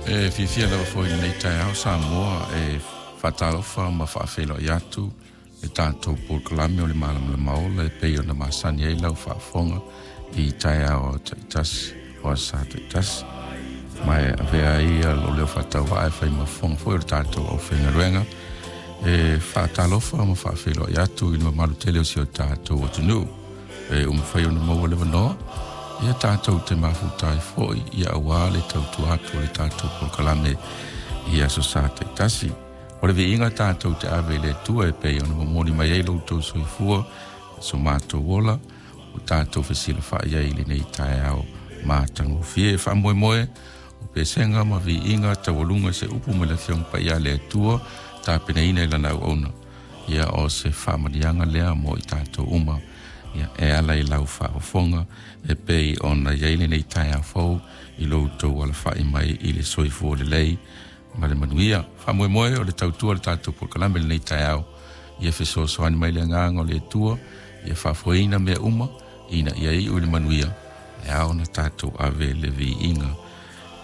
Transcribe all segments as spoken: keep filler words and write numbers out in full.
E fiafia lava foi i lenei taeao Samoa e faatalofa ma faafeiloai atu le tatou polokalame o le Malamalama Ola e pei ona masani ai lau faafofoga i taeao taitasi o aso Sa taitasi. Ma e avea ai lou leo faatauvaa e fai ma fofoga foi o le tatou aufaigaluega e faatalofa ma faafeiloai atu i le mamalu tele o si o tatou atunuu e ua mafai ona maua le avanoa ia tatou te mafuta ai foi ia auā le tautua atu o le tatou polokalame i aso Sa taitasi. O le viiga tatou te ave i le Atua e pei ona momoli mai ai lo outou soifua so matou ola o tatou fesilafai ai i lenei taeao matagofie. Faamoemoe o pesega ma viiga taualuga se upu mai le Afioga Paia a le Atua tapenaina i lana auauna ia o se faamanuiaga lea mo i tatou uma ia e ala i lau faafofoga e pei ona i ai lenei taeao fou i lo outou alafai mai i le soifua lelei ma le manuia. Faamoemoe o le tautua o le tatou polokalame i lenei taeao ia fesoasoani mai le agaga o le Atua ia faafoeina mea uma ina ia iu i le manuia e ao ona tatou ave le viiga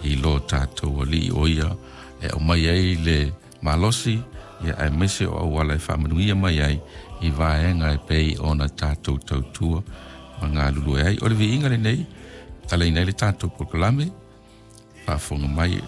i lo tatou Alii o ia e aumai ai le malosi ia aemaise o auala e faamanuia mai ai i vaega e pei ona tatou tautua ma galulue ai. O le viiga lenei talaina ai le tatou polokalame faafofoga mai.